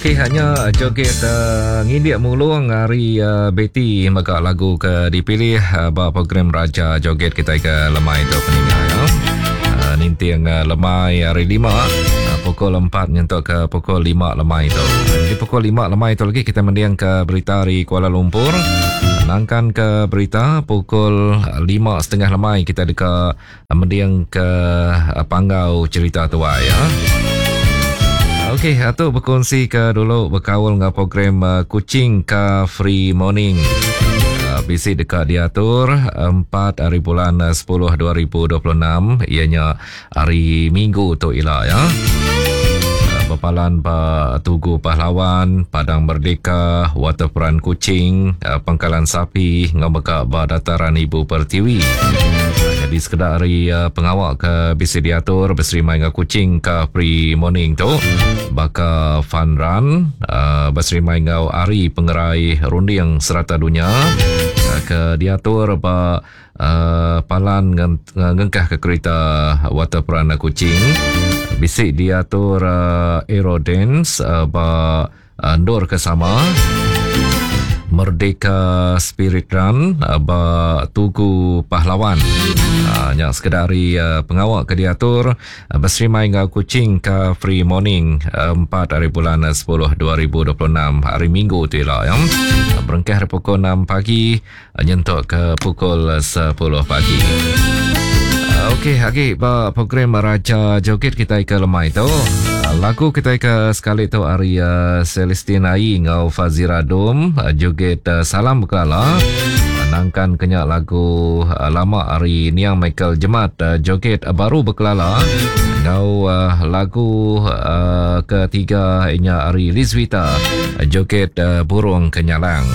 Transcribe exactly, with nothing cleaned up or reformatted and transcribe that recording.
Okey, hanya joget uh, ngindik mulung hari uh, Betty mega lagu ke dipilih uh, ba program Raja Joget kita ke lemai tu peninga ya. Uh, ninting uh, lemai hari lima uh, pukul empat nyentuk ke pukul lima lemai tu. Jadi pukul lima lemai tu lagi kita mendiang ke berita hari Kuala Lumpur. Nangkan ke berita pukul lima setengah lemai kita deka mendiang ke panggau cerita tua ya. Okey, atu berkongsi ke dulu berkaul dengan program uh, Kuching Car Free Morning. Uh, bisi dekat diatur empat hari bulan sepuluh dua ribu dua puluh enam, ianya hari Minggu tu ila ya. Berpalan ba Tugu Pahlawan, Padang Merdeka, Waterfront Kuching, Pangkalan Sapi, ngau ba Dataran Ibu Pertiwi. Jadi sekedar hari uh, pengawak ke bisi diatur berserimai dengan Kuching Car Free Morning tu baka fun run uh, berserimai dengan hari pengerai runding serata dunia uh, ke diatur ba uh, palan ngengkah ke kereta Waterfront Kuching. Bisi diatur uh, Aerodance uh, ba uh, ndur ke sama Merdeka Spirit Run uh, ba Tugu Pahlawan. Uh, nyak sekedar hari uh, pengawak ke diatur uh, berserimai dengan Kuching Car Free Morning uh, empat hari bulan sepuluh dua ribu dua puluh enam hari Minggu tu lah ya. Uh, berengkah dari pukul enam pagi uh, nyentuk ke pukul sepuluh pagi. Uh, okey, lagi ba program Raja Joget kita ke lemai tu. Lagu kita ke sekali tu hari uh, Celestine Ai ngau Fazira Dom uh, joget uh, Salam Berkelala. Uh, nangkan kenyak lagu uh, lama hari Niang Michael Jemat uh, joget uh, Baru Berkelala. Ngau uh, lagu uh, ketiga inya hari Lizwita uh, joget uh, Burung Kenyalang.